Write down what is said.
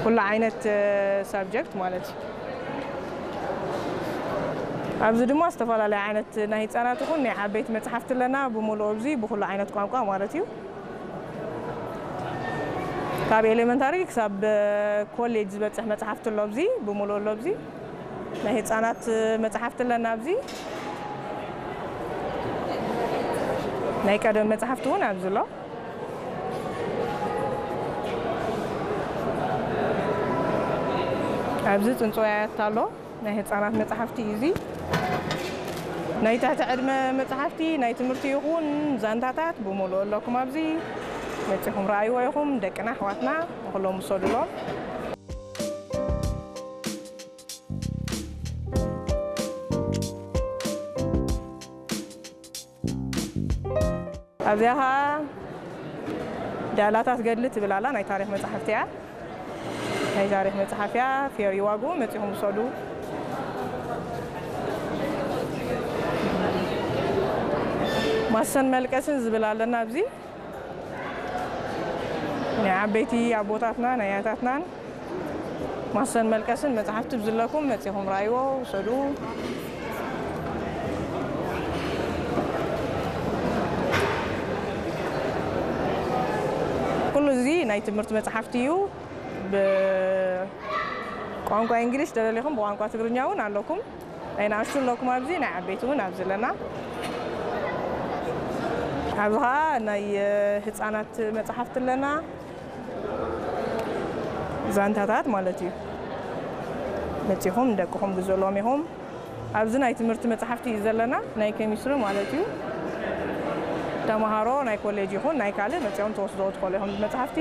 ኩሉ ዓይነት ሳብጀክት ማለት እዩ። ኣብዚ ድማ ዝተፈላለየ ዓይነት ናይ ህፃናት ይኹን ናይ ዓበይቲ መፅሓፍቲ ኣለና። ብምሉእ ኣብዚ ብኩሉ ዓይነት ቋንቋ ማለት እዩ። ካብ ኤሌመንታሪ ክሳብ ኮሌጅ ዝበፅሕ መፅሓፍቲ ኣሎ። ኣብዚ ብምሉእ ኣሎ። ኣብዚ ናይ ህፃናት መፅሓፍቲ ኣለና። ኣብዚ ናይ ቀደም መፅሓፍቲ እውን ኣብዚ ኣሎ። ኣብዚ ፅንፅዋያት ኣሎ። ናይ ህፃናት መፅሓፍቲ እዩ እዚ። ናይ ትሕቲ ዕድመ መፅሓፍቲ ናይ ትምህርቲ ይኹን ዛንታታት ብምሉእ ኣለኩም። ኣብዚ መፂኹም ረኣይዎ ኢኹም። ደቅና ኣሕዋትና ንኩሎም ውሰዱሎም። ኣብዚኣ ኸዓ ዳላታት ገድሊ ትብል ኣላ። ናይ ታሪኽ መፅሓፍቲ እያ። ናይ ታሪኽ መፅሓፍ እያ። ፌር ዋጉ መፂኹም ውሰዱ። ማሰን መልቀስን ዝብል ኣለና ኣብዚ። ናይ ዓበይቲ ኣቦታትና ናይ ኣያታትናን ማሰን መልቀስን መፅሓፍቲ ብዝለኩም መፂኹም ረኣይዎ፣ ውሰዱ። ኩሉ እዚ ናይ ትምህርቲ መፅሓፍቲ እዩ። ብቋንቋ እንግሊሽ ተደሊኹም ብቋንቋ ትግርኛ እውን ኣለኩም። ናይ ንኣሽቱ ኣለኩም ኣብዚ፣ ናይ ዓበይቲ እውን ኣብዚ ኣለና። ኣብዚ ኸዓ ናይ ህፃናት መፅሓፍቲ ኣለና። ዛንታታት ማለት እዩ። መፂኹም ንደቅኹም ግዝእሎም ኢኹም። ኣብዚ ናይ ትምህርቲ መፅሓፍቲ እዩ ዘለና፣ ናይ ኬሚስትሪ ማለት እዩ። ተምሃሮ ናይ ኮሌጅ ይኹን ናይ ካልእ መፂኦም ተወስዶ ትኽእሉ ኢኹም መፅሓፍቲ።